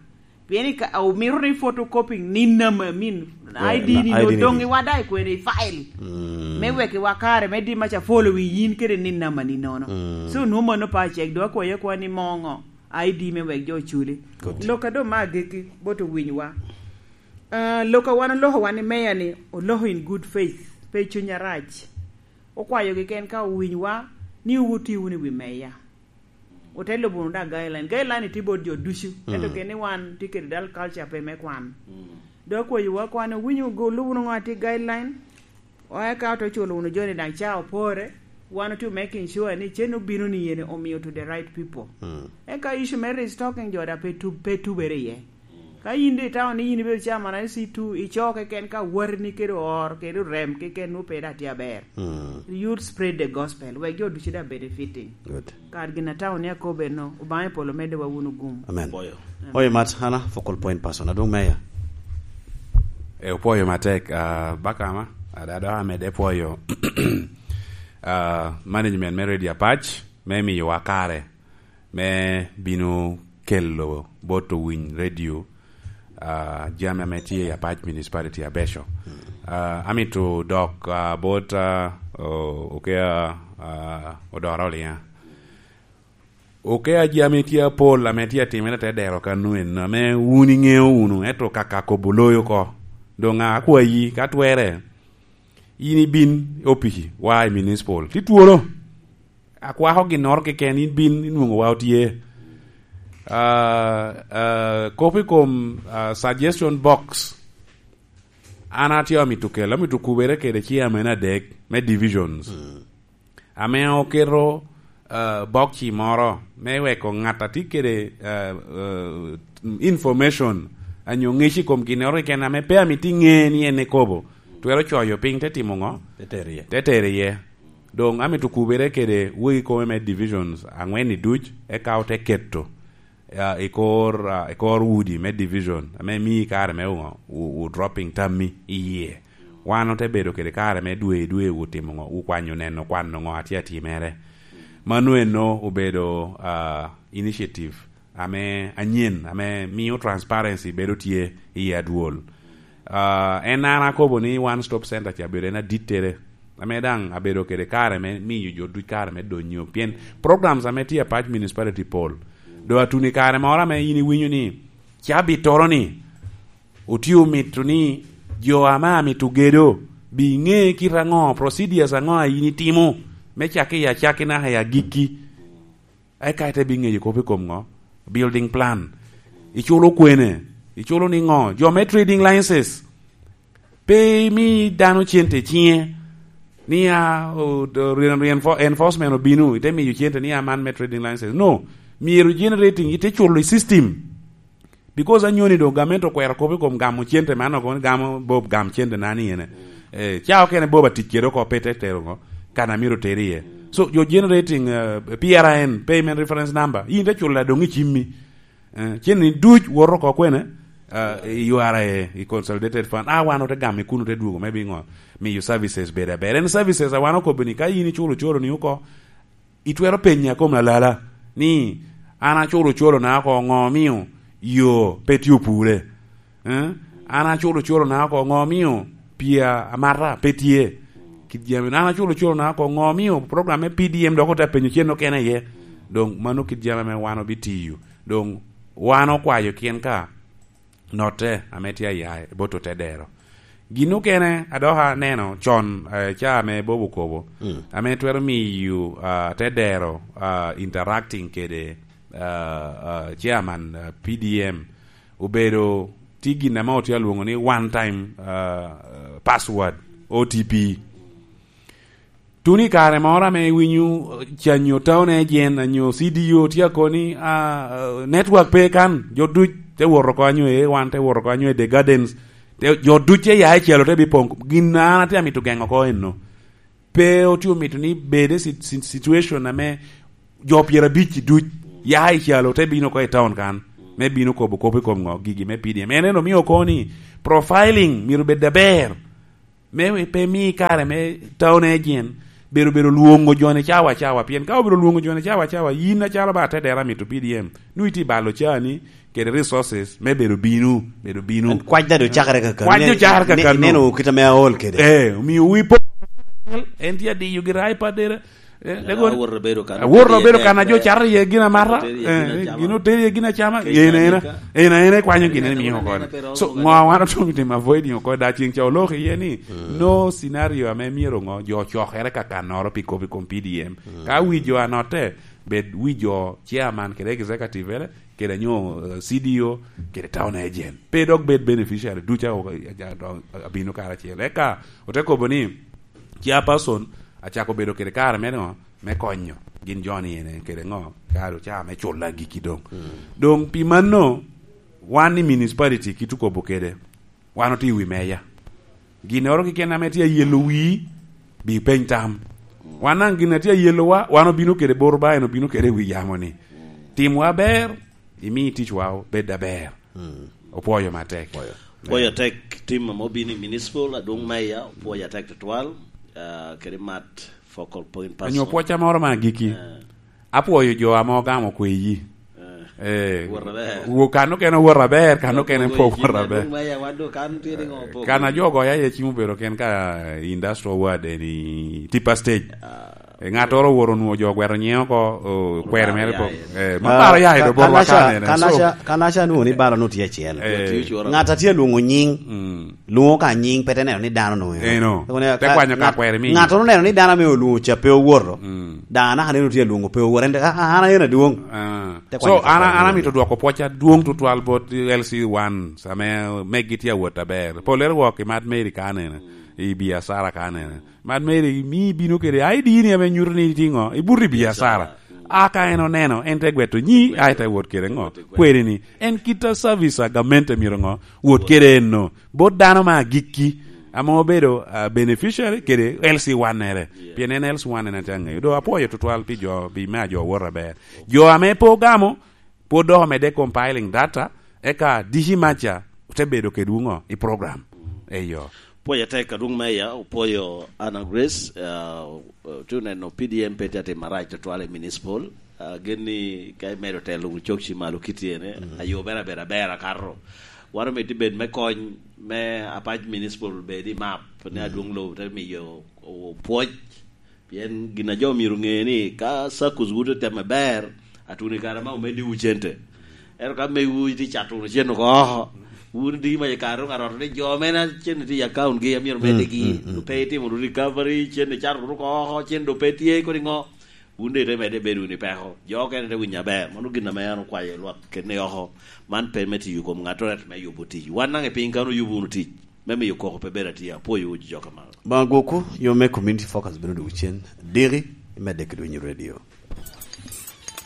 Pien i ka, omito ni photocopying nin nama, I mean, I D ni no, I D ni doŋ iwa da i kwene i file. Mm. Me wek iwa kare, me di maca follow wi yin kede nin nama ni nono. Mm. So, nwo mano pa cek, do akwayo akwa ni moŋo I D me wek jo oculi. Good. Lok a do ma agiki, bot owiny wa. Ah, lok a wan oloko wan i meya ni, oloko in good faith, pe cuny arac. Okwayo gi ken ka owiny wa, ni wuti wunu i wi meya. Ote lubo wunu da guideline. Guideline tye bot jo ducu. Ento mm, keni wan tye kede dal culture pe me kwan. Mm. Dok akwayo wa kwan owinyo go lubo wunu ŋo atye guideline. Oya ka ote culo wunu joni daŋ ca opore. Wan otye making sure ni cen obino ni yene omiyo to the right people. Mm. Eka issue me restocking jo da pe tu-, pe tubere iye. Ka yin de itamo ni yin ibedo chairman I C two, ico keken ka watini kede or, kede orem keken nwo pe da tye aber. Mm. You spread the gospel, wek jo ducu da benefiting. Good. Kar gin atamo ni akobe no, Obaŋa i polo medde wa wunu gum. Amen. Apoyo. Amen. Oyo mat, Hana, focal point person, adwoŋ meya. E, opwoyo matek, ah, bakama, ada, ada amede pwoyo, ah, management me Radio Apac, me miyowa kare. Me bino kelo bot owiny radio, ah, jami ame tye i Apac Municipality abeco. Mm. Ah, amito dok, ah, bot, ah, o-, oke, ah, Odora Oliŋa. Oke, jami tye apol ame tye atimere te dero kano en, ame wun iŋeo wunu, ento kaka kobo loyo oko. Doŋ akwayi, ka twere, in ibin i opici, wa i municipal. Ti twolo. Akwako ginnoro keken, in bin inwoŋo wa otye. Ah, ah, kop i kom, ah, suggestion box. An atye amito kelo, amito kubere kede chairman adek me divisions. Mm. Ame oketo, ah, box moro me weko ŋat a tye kede, ah, ah, information, anyo ŋec i kom ginnoro keken ame pe amito iŋe ni en ekobo. Twero coyo piny te timo ŋo? Te tero iye. Te tero iye. Doŋ amito kubere kede wegi kome me divisions aŋwen-ni duc, eka ote keto, ah, i kor, ah, i kor udi me division, ame mii kare me ŋo, wu-, wu dropping tammi i yie. Wan ote bedo kede kare me dwe i dwe wu timo ŋo, wu kwanyo neno kwano ŋo a tye atimere. Mano eno obedo, ah, initiative ame anyen, ame mio transparency bedo tye i adwol. Ah, en an akobo ni One Stop Center ca bedo en adittere, ame daŋ abedo kede kare me miyo jo duc kare me donyo, pien programs ame tye i Apac Municipality pol. Do atuno i kare moro ame in iwinyo ni cabittoro-ni otye omito ni jo ame amito gedo bi ŋe kite aŋo, procedures aŋo a in itimo, me cakke i acakki naka i agikki. Eka ite bi ŋeyo kop i kom ŋo? Building plan. Iculo kwene? Iculo niŋo? Jo me trading licenses. Pe imi dano cente i ciŋe. Ni a, o, o, reen-, reenfo-, enforcement obino, ite miyo cente ni a man me trading license. No. Myero generating, ite culo i system. Because anyoni doŋ gamente okwero kop i kom gamo cente man, oko ni gamo Bob gam cente na ni ene. Eh, ca okene Bob atic kede oko pe te tero ŋo, kan amito tero iye. So, you're generating, uh, P R I N, payment reference number. In te culo doŋ i cimmi. Eh, cen ni duc woto oko kwene, uh, i U R A, i Consolidated Fund. Ah, wan ote gamo i kuno te dwogo, maybe ŋo, miyo services bedo aber. En services a wan okobo ni ka in iculo coro ni oko, itwero penya kom alala ni, "An aculo colona oko, ŋo omio yo pe tye opure? Eh? An aculo colona oko, ŋo omio pii amata pe tye?" Kit jami, "An aculo colona oko, ŋo omio program me P D M dok ote apenyo cen okene iye?" Doŋ mano kit jami ame wan obitiyo. Doŋ wan okwayo kien ka notte ame tye aya i bot otedero. Gin okene a dok aneno con, eh, ca ame Bob okobo, mm, ame twero miyo, ah, tedero, ah, interacting kede, ah, ah, chairman, ah, P D M, obedo tye gin ame otye alwoŋo ni one time, ah, ah, password, O T P. Tuno i kare moro ame iwinyo, eh, canyo town agent, anyo C D O tye akobo ni, ah, ah, network pe kan, jo duc te wot oko anyo e wan, te wot oko anyo e The Gardens, te, jo duc te ya i calo te bipoŋ. Gin a an atye amito geŋo oko eno. Pe otye omito ni bed i si-, si-, situation ame jo pyerabic duc ya i calo te bino oko i town kan, me bino kobo kop i kom ŋo, gigi me P D M. En en omio oko ni profiling myero bed aber. Me pe mi kare me town agent bedo, bedo lwoŋo joni cawa cawa, pien ka obedo lwoŋo joni cawa cawa, yin acalo ba atedera mito P D M, nwoŋo itye balo cani kede resources me bedo bino, bedo bino. Kwac daŋ ocakere kakano. Kwac daŋ ocakere kakano. Ineno kit ame aol kede. Eh, omio wi po-, en tye adiyo gire iPad dere. Eh, lego awor obedo kan, awor obedo kan ajo cato iye gin amata. Oter iye gin acama. Gin oter iye gin acama. Ena, ena, ena, ena ikwanyo gin ene miyo oko. So, ŋo wan otwero timo avoiding oko, da ceng ca oloko iye ni, no scenario ame myero ŋo, jo ocokere kakannoro pi kop i kom P D M. Ka wi jo anotte, bed wi jo chairman kede executive ere, kede nyo, eh, C D O, kede town agent. Pe dok bed beneficiary, duca o-, a-, a-, a-, abino karacel. Eka, ote kobo ni, chairperson acako bedo kede kare me ŋo, me konyo gin jo ni ene kede ŋo, kare oca me culo agikki doŋ. Doŋ pi mano, wan i municipality kit okobo kede, wan otye i wi meya. Ginnoro keken ame tye ayelo wii, bi peny tam. Wan daŋ gin a tye ayelowa, wan obino kede bot Obaŋa, en obino kede i wi yamo ni. Timwa aber, imi ticwa bed aber. Opwoyo matek. Opwoyo. Opwoyo atek tim ame obino i municipal, adwoŋ meya, opwoyo atek tutwal, ah, kede mat focal point person. Onyo pwoca moro me agikki. Eh. Apwoyo jo ame ogamo kweyi. Eh. Eh, wot aber. Wo kan okene wot aber, kan okene po wot aber. Adwoŋ meya, wan do kan tye ni ŋo po kan kweyi. Ajo ogoya iye cim obedo ken ka industrial ward eni Tipa Stage. Ah. Eh, ŋattoro owoto onwoŋo jo ogweto nyiŋe oko, o, kwero mere pok. Eh, ma balo ya i do botwa kanene. So, kanaca nwoŋo ni balo nwoŋo tye acel. Eh. Ŋat a tye alwoŋo nyiŋ, lwoŋo ka nyiŋ, pe te neno ni dano nwoŋo eno. Eno. Te kwanyo ka kwero mi. Ŋattoro neno ni dano ame olwoŋo ca pe owoto. Daŋ anaka neno tye alwoŋo pe owoto. En te, "Ah, ah, an aye adwoŋ." Ah. Te kwanyo ka kwero mi. So, an, an amito dwoko pwoc adwoŋ tutwal bot L C one, ame megi tye awot aber. Pollere wok i Mad Mary kanene, i biacara kanene. Mad Mary mi bino kede I D ni ame nyuto ni itye ŋo, ibuto i biacara. Biacara. A ka en oneno, en te gweto nyi, a te wot kede ŋo? Kweri ni. En kit a service a gamente myero ŋo? Wot kede eno. Bot dano ma agikki, ame obedo, ah, beneficiary kede L C one ere. Yeah. Pien en L C one en atye aŋeyo. Do apwoyo tutwal pi jo, pi me ajo wot aber. Jo ame pe ogamo, pwod dok omedde compiling data, eka D C Macha te bedo kedwu ŋo i program. Eyo. Pwoyo atek adwoŋ meya, opwoyo Anna Grace, ah, tu neno P D M pe tye atimo arac tutwal i municipal. Ah, gen ni ka imedo telo wunu cok ci malo kit ene, ayo bene abedo aber akato. Wan omito bed me kony me apac municipal bed i map, ni adwoŋ lobo te miyo o-, pwoc. Pien gin a jo myero ŋe ni ka SACCOs wun otemo aber, atuni kare ma omeddiwu cente. Ento ka mewu itye cato wunu cen oko oko, wun diki mac i kare doŋ aroto ni jo mene cen tye i account gi, amyero medde gi, pe itimo wunu recovery, cen icato wunu oko oko, cen doŋ pe tye, kodi ŋo? Wun doŋ ite medde bedo wunu i peko. Jo okene te winyo aber. Mano gin ame an okwayo lwak kene oko. Man pe me tiyo kom ŋattoro, ento me yubo tic. Wan daŋ i piny kan oyubo wunu tic me miyo koko pe bedo atye. Apwoyowu jo ka malo. Baŋa gwokwu, yo me community focus bino dwogo cen. Diki, imedde ki dwinyo radio.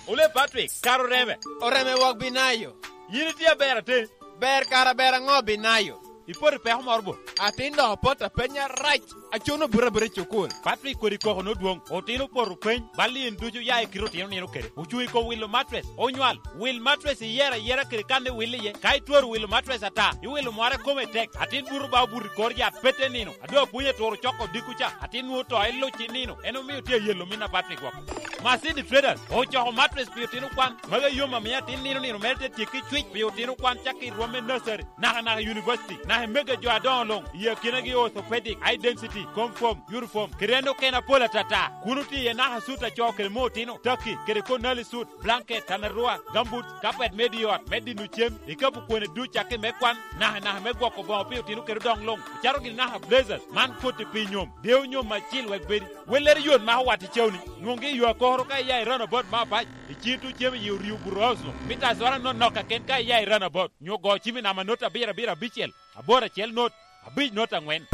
Ole Patrick, kara oreme. Oreme wok binayo. Yin itye aber atin. Ber kara ber aŋo binayo? Ipoto i peko moro bo? Atin dok opot apenya rac. Acono buto abuta i cukul. Patrick kodi koko nodwoŋ. Otino opoto peny. Bal in ducu ya i kite otino nino kede. Ocuŋ i kom wilo matres. Onywal. Wil matres iyero ayera kede kan iwil iye. Ka itwero wilo matres ata, iwilo mware kome tek. Atin buto ba obuto i kor yat pete nino. A doŋ apwony aturo coko odiko ca, atin nwoŋo to iluc i nino, en omio tye ayelo min a Patrick woko. Masini Traders ocoko matres pi otino kwan, magi yom amio atin nino nino mere te tyekki cwic pi otino kwan cakki i rwom me nursery, naka naka i university, naka i mege jo adoŋo luŋ, i akinagi orthopedic, high density, comfort, uniform, kede en okene apol atata. Kun otye iye naka sut a co kede me otino, taki, kede konali sut, blanket, tanarua, gumboots, kapet me di ot, me dino cem, ikapu kwene duc cakki me kwan, naka naka me gwoko boŋo pi otino kede odoŋ luŋ, ocato gini naka blazers, man koti pi nyom, deo nyom acil wek bedi. Wellere yot mako wat i cawni, nwoŋgi i yo akokoro ka iya i runabout me apac, iciŋ tuŋ cem i yi oryo burousno, mita azora nonok kaken ka iya i runabout, nyo go cim i namba not abiro abiro abicel, aboro acel not, abic not aŋwen.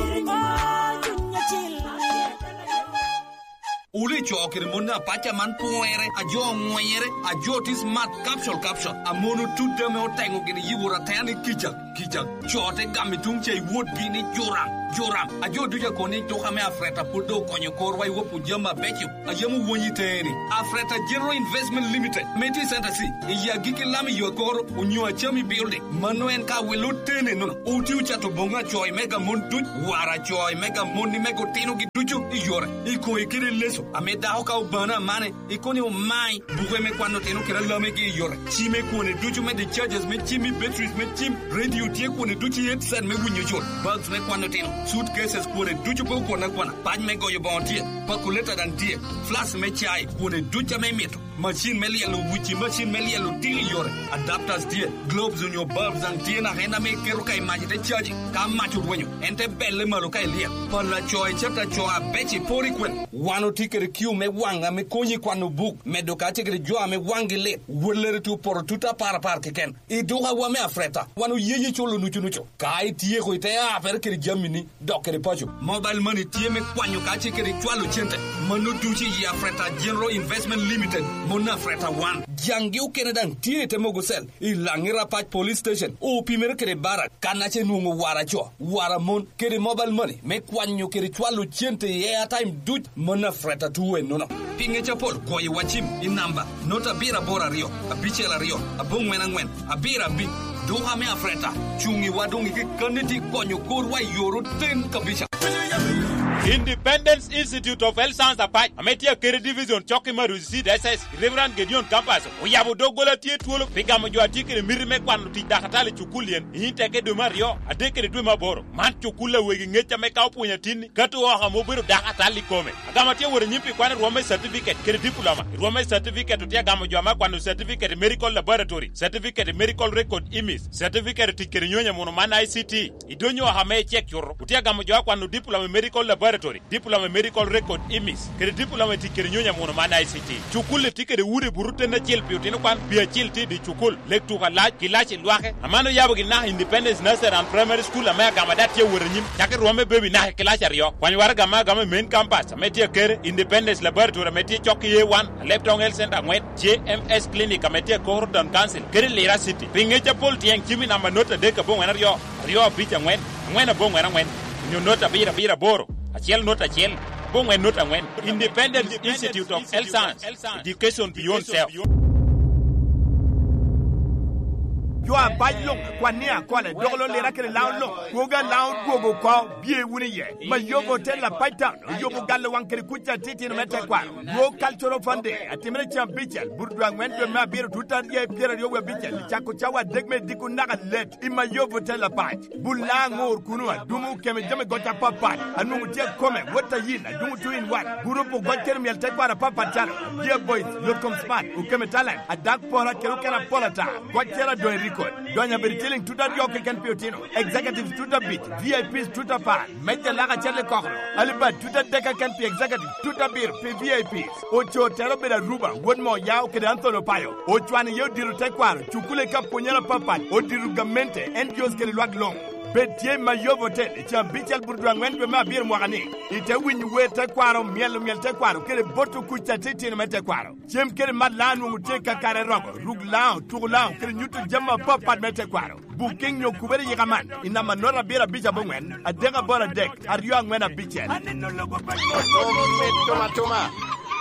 Wule co kede mon apac aman pwere, a jo oŋwenyere, a jo tye smart, capsule, capsule. A mon otut ame oteŋo gin i yiwu ratene kica, kica. Co te gamo i tuŋ ca i wotgi ni, "Joram, Joram." A jo ducu a kono ni, "Duka me Afreta pwod doŋ okonyo korwa i wopwu jami abeco." A yam owony i teŋe ni, Afreta General Investment Limited, ame tye i Center C, i agikki lam i yo akoro, onyo Achami Building. Mano en ka wel otene nono. Oti ocato boŋo a co i mega mon duc, wara co i mega mon i mega otinogi ducu i yore, i koŋe kede leso, ame dako ka obano amane, i koni omai, buke me kwano otino kede alamegi i yore, cime kwone ducu me discharges me cim i batteries me cim, radio tye kwone ducu i headset me winyo col, bags me kwano otino, suitcases kwone ducu pe okwon akwana, pac me goyo boŋo tye, pakuleta daŋ tye, flask me cai kwone ducu ame imito. Macin me lyelo wuci, macin me lyelo tiko i yore, adapters tye, globes onyo bulbs daŋ tye naka en ame iketo ka i mac ite caji. Ka mac orwenyo, en te belle malo ka ilyel. Pala co i cata co abeco i poro i kwel. Wan otye kede kiu me waŋ ame konyi i kwano buk, medo kacel kede jo ame waŋgi lit. Wellere tye opoto tut apar apar keken. I dukawa me Afreta, wan oyeyi culo nucu nucu. Ka ityeko, ite apere kede jamini, dok kede paco. Mobile money tye me kwanyo kacel kede cwalo cente. Mano ducu i Afreta General Investment Limited, mon Afreta wan. Jaŋgi okene daŋ tye i te mogo cell, i Laŋi Rapac Police Station, opimere kede Barak, kan ace nwoŋo wara co, wara mon, kede mobile money me kwanyo kede cwalo cente i airtime duc, mon Afreta tuwe nono. Pi ŋec apol, goyo wa cim i namba not abiro aboro aryo, abicel aryo, aboŋwen aŋwen, abiro abic. Duka me Afreta, cuŋ i wa doŋ i kekkanni tye konyo korwa i yor oten kabisa. Independence Institute of Health Science Apac, ame tye akete division cok i Marusi Diocese, Reverend Gideon Campus, oyabo doggola tye twolo pi gamo jo a tye kede miti me kwano tic dakatal i cukul yen, i Inteke dwe me aryo, adek kede dwe me aboro. Man cukul a wegi ŋec ame ka opwonyo atinni, kato oko ame obedo dakatal i kome. Agama tye wot anyim pi kwan i rwom me certificate kede diploma. I rwom me certificate otye agamo jo ame akwano certificate i medical laboratory, certificate i medical record imis, certificate i tic kede nyonyo muno man I C T. I donyo oko ame icek cuto, otye agamo jo akwano diploma i medical laboratory, diploma i medical record imis, kede diploma i tic kede nyonyo muno man I C T. Cukul-li tye kede udi buto ten acel pi otino kwan, pi acel tye i dye cukul. Lek tuko alac, kilaci lwake, aman oyabo gin naka Independence Nursery and Primary School ame agama dok tye awot anyim, cako i rwom me baby naka i kilaci aryo. Kwany waraga me agama i main campus ame tye akere, Independence Laboratory ame tye cok i A one, Alep Town Health Center aŋwen, J M S Clinic ame tye akoro Town Council, kede Lira City. Pi ŋec apol tyeŋ cim i namba not adek aboŋwen aryo, aryo abic aŋwen, aŋwen aboŋwen aŋwen, onyo not abiro abiro aboro, acel not acel, aboŋwen not aŋwen. Independence Institute of Health Science. Education beyond self. Jo abac luŋ, kwan ni akole, dok lo lira kede laŋo luŋ, kwogo alaŋo dwogo oko, bye wunu iye. Mayobo Hotel Apac Town, oyobo galo waŋ kede kuc atitino me tekwaro. World Cultural Fund Day, atimere cen abicel, buto dwe aŋwen dwe me abiro, tut aryo pyeraryo wie abicel, cako cawa adek me diko naka let, i Mayobo Hotel Apac. Bul laŋo ŋor kuno, adumo okeme jami goc apapat, anwoŋo tye akome, wot ayin, adumo two in one, gurup ogoc kede myel tekwaro apapat calo, Dear Boys, Yot Kom Smart, okeme Talent, Adak Pora kede okene apol ata, goc cero adoŋ i record, donyo abedo ciliŋ tut aryo keken pi otino, executives tut abic, V I Ps tut apar, meja lak acel i kokoro, alibad tut adek keken pi executives, tut abiro pi V I Ps. Oco tero obedo Aruba, wot me Oyao kede Anthony Opayo. Ocwano iye odito tekwaro, cukule ka pwonyere apapat, odito gamente, N G Os kede lwak luŋ. Bed tye i Mayobo Hotel, i caa abicel buto dwe aŋwen dwe me abiro mwaka ni. Ite winyo wer tekwaro, myelo myel tekwaro, kede boto kuc atitino me tekwaro. Cem kede mat laŋo nwoŋo tye kakare rogo, ruk laŋo, tuko laŋo, kede nyuto jami apapat me tekwaro. Booking nyo kubere yika man i namba not abiro abic aboŋwen, adek aboro adek, aryo aŋwen abicel. Aneno logo pa Omito matuma.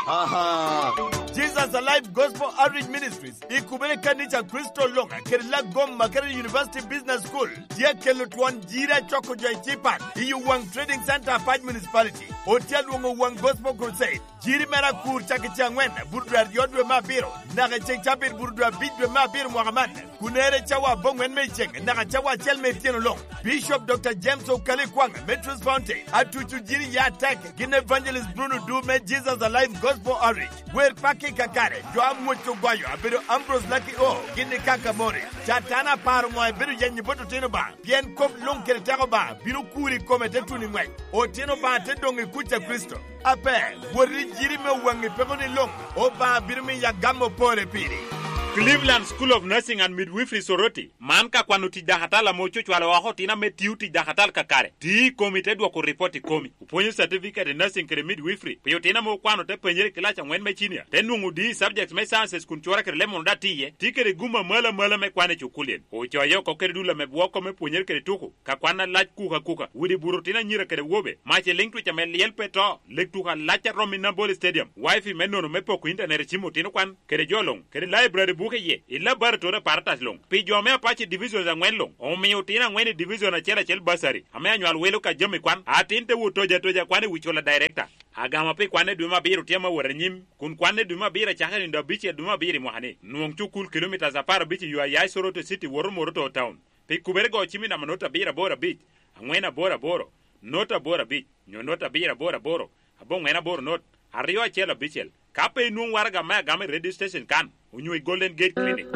Aha. Jesus Alive Gospel Outreach Ministries, i kubere kanica Kristo Loŋa, kede Lagoma kede University Business School, tye kelo twon jiri acoko jo i Cipan, i Uwang Trading Center, Apac Municipality. Otye alwoŋo Uwang Gospel Crusade. Jiri mere akur cak i ce aŋwen, buto dwe aryo dwe me abiro, naka i ce cabit buto dwe abic dwe me abiro mwaka man. Kun ere cawa aboŋwen me iceŋ, naka cawa acel me ityeno luŋ. Bishop Doctor James Okali Kwaŋ me Truth Fountain, atuco jiri ya atek, gin Evangelist Bruno Du me Jesus Alive Gospel Outreach. Wer pakki kakare, jo amwoc ogwayo, abedo Ambrose Lucky O, gin i Kaka Morris. Catana aparo ŋo ebedo yenyi bot otino ba? Pien kop luŋ kede teko ba, bino kuri i kome te tuno i ŋwec. Otino ba te doŋ i kuc a Kricito. Ape, wot i jiri me Owaŋi peko ni luŋ, Obaŋa bino miyo agam opore piri. Cleveland School of Nursing and Midwifery Soroti, man ka kwano tic dakatal ame ococwalo oko otino ame tio tic dakatal kakare, ti i komi te dwoko ripot i komi. Opwonyo certificate i nursing kede midwifery pi otino ame okwano te penyere i kilac angwen me cinia, te nwoŋo D i subjects me sciences kun cura kede lemon oda tiye, ti kede gum amalo amalo me kwan i cukulien. Ocoye oko kede dul ame bwoko me pwonyere kede tuko, ka kwan alac kuka kuka, widi buto otino anyira kede wobe, mac i liŋ twic ame lyel pe to, lek tuko alac a romo i Nambole Stadium, wifi me nono me poko intanet i cim otino kwan, kede jo luŋ, kede library buke iye, i laboratory aparatas luŋ. Pi jo me Apache Divisions angwen luŋ, omio otino angwen i division acel acel basari, ame anywal welo ka jami kwan, atin te wot toja toja kwan i wi cula director. Agama pi kwanne dwe me abiro tye ame wot anyim, kun kwanne dwe me abiro acakere nindo abicel dwe me abiro i mwaka-ni. Nwoŋ cukul kilomitas apar abic i yo a ya i Soroti City woto Moroto Town. Pi kubere go cim i namba not abiro aboro abic, aŋwen aboro aboro, not aboro abic, nyo not abiro aboro aboro, aboŋwen aboro not, aryo acel abicel. Ka pe inwoŋ waraga me agama i radio station kan, onyo i Golden Gate Clinic.